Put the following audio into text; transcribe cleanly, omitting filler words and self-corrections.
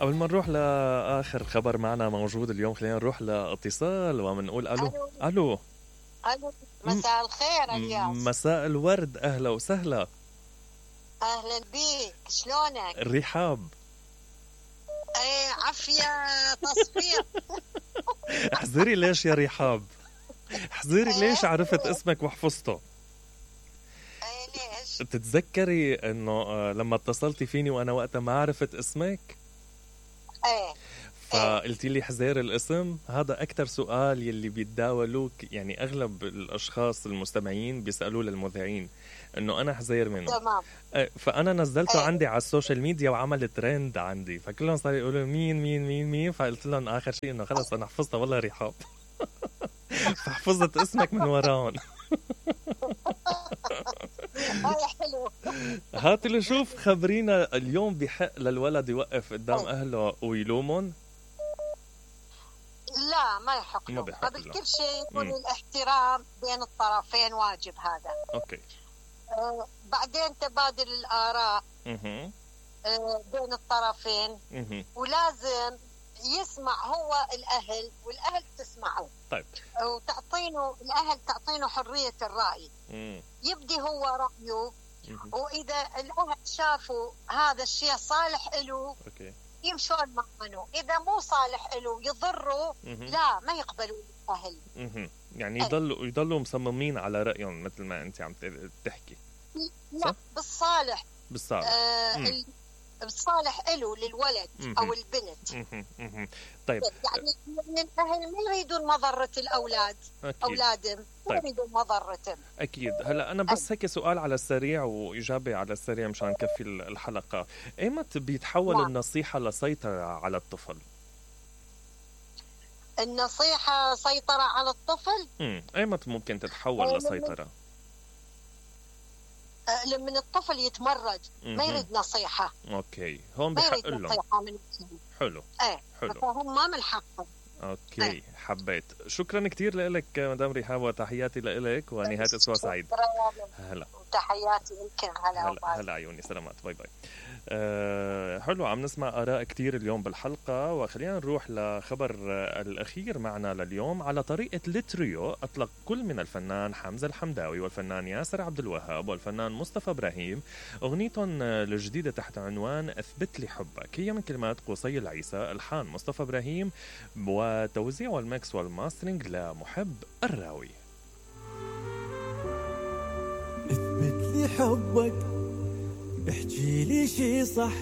قبل ما نروح لآخر خبر معنا موجود اليوم، خلينا نروح لاتصال ومنقول ألو. الو ألو. الو، م- مساء الخير الياس. مساء الورد، أهلا وسهلا. اهلا بيك، شلونك؟ رحاب. ايه عافية تصفير. احذري ليش يا رحاب، احذري ليش عرفت اسمك وحفظته. ايه ليش؟ تتذكري انه لما اتصلتي فيني وانا وقتها ما عرفت اسمك ايه فقلتي لي حذير الاسم؟ هذا اكثر سؤال يلي بيتداولوك، يعني اغلب الاشخاص المستمعين بيسالوه للمذيعين انه انا حذير منه. تمام. فانا نزلته ايه عندي على السوشيال ميديا وعمل ترند عندي، فكلهم صاروا يقولوا مين مين مين مين، فقلت لهم اخر شيء انه خلص انا حفظتها والله رحاب. فحفظت اسمك من وراهم. هاي حلو. هاتي لشوف، خبرينا اليوم بحق للولد يوقف قدام ايه. اهله ويلومون؟ لا ما يحق ما له، بحق قبل له. كل شيء يكون مم. الاحترام بين الطرفين واجب هذا. اوكي. بعدين تبادل الآراء اها. بين الطرفين، اها. ولازم يسمع هو الأهل والأهل تسمعه. طيب. الأهل تعطينه حرية الرأي، مم. يبدي هو رأيه، مهم. وإذا الأهل شافوا هذا الشيء صالح له اوكي. يمشون معه، إذا مو صالح له يضره مهم. لا ما يقبلوا الأهل. مهم. يعني يضلوا مصممين على رأيهم مثل ما انت عم تحكي. لا صح؟ بالصالح. بالصالح. مم. بالصالح له للولد مهم. أو البنت. مهم. مهم. طيب. يعني الأهل ما يريدون مضرة الأولاد، أكيد. أولادهم ما طيب. يريدون مضرتهم. أكيد. هلا أنا بس هيك سؤال على السريع وإجابة على السريع مشان نكفي الحلقة. إيمت بيتحول نعم. النصيحة لسيطرة على الطفل؟ النصيحة سيطرة على الطفل. إيمت ممكن تتحول لسيطرة؟ لما الطفل يتمرد ما يريد نصيحة. أوكي، هون ما بحق يريد لهم. نصيحة من الأهل. حلو. ايه حلو. فهم ما من حقهم. اوكي. حبيت. شكرا كتير لك مدام رحاب، وتحياتي لك ونهاية اسبوع سعيد. هلا. تحياتي لكم. هلا عيوني، سلامات، باي باي. حلو، عم نسمع آراء كتير اليوم بالحلقة، وخلينا نروح لخبر الأخير معنا لليوم. على طريقة التريو أطلق كل من الفنان حمزة الحمداوي والفنان ياسر عبد الوهاب والفنان مصطفى إبراهيم أغنيتهم الجديدة تحت عنوان أثبت لي حبك. هي من كلمات قصي العيسى، ألحان مصطفى إبراهيم، وتوزيع والميكس والماسترينج لمحب الراوي. اثبت لي حبك، احكي لي شي صح،